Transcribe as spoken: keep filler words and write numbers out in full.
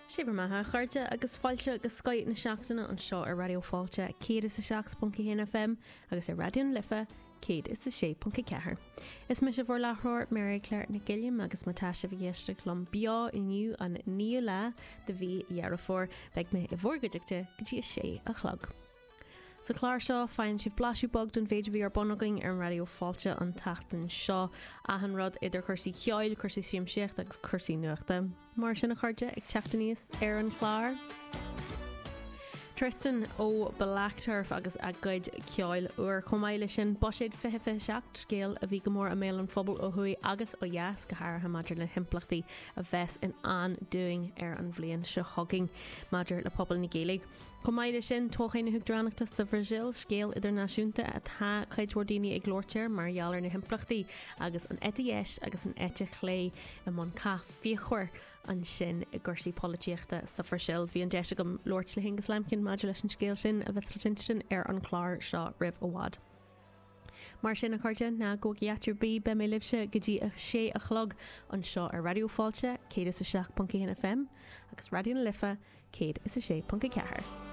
Sé bhur mbeatha, a chairde, agus fáilte go Scoth na Seachtaine anseo ar Raidió Fáilte céad is a seacht ponc a haon F M agus ar Raidió na Life céad is a sé ponc a ceathair. Is mise bhur láithreoir, Mary Claire Nic Gilliam, agus má tá sibh ag éisteacht liom beo inniu, an naoú lá de mhí Dheireadh Fómhair, beidh mé i bhur gcuideachta go dtí a sé a chlog. Sa chlár seo faigheann sibh blaiseadh beag den mhéid a bhí ar bun againn ar an Raidió Fáilte an tseachtain seo, achan rud idir chúrsaí ceoil, cúrsaí siamsaíochta agus cúrsaí nuachta. Mar sin, a chairde, ag teacht aníos ar an chlár: Tristan ó Black Turf agus a gcuid ceoil úr. Chomh maith leis sin, Buiséad fiche fiche seacht, scéal a bhí go mór i mbéal an phobail ó thuaidh agus ó dheas, go háirithe maidir le himpleachtaí a bheas in ann dúinn ar an bhliain seo chugainn maidir le pobal na Gaeilge. Chomh maith leis sin, toghchán na hUachtaránachta sa Bhrasaíl, scéal idirnáisiúnta atá cuid mhór daoine ag labhairt air mar gheall ar na himpleachtaí agus an eite dheis agus an eite chlé i mbun cath fíochmhar ansin i gcúrsaí polaitíochta sa Bhrasaíl. Bhí an deis agam labhairt le hAonghus Lambkin maidir leis an scéal sin, a bheas le cluinstin ar an chlár seo roimh i bhfad. Mar sin, a chairde, ná gabhaigí áit ar bith, beidh mé libhse go dtí a sé a chlog anseo ar Raidió Fáilte céad is a seacht ponc aon F M agus Raidió na Life céad is a sé ponc a ceathair.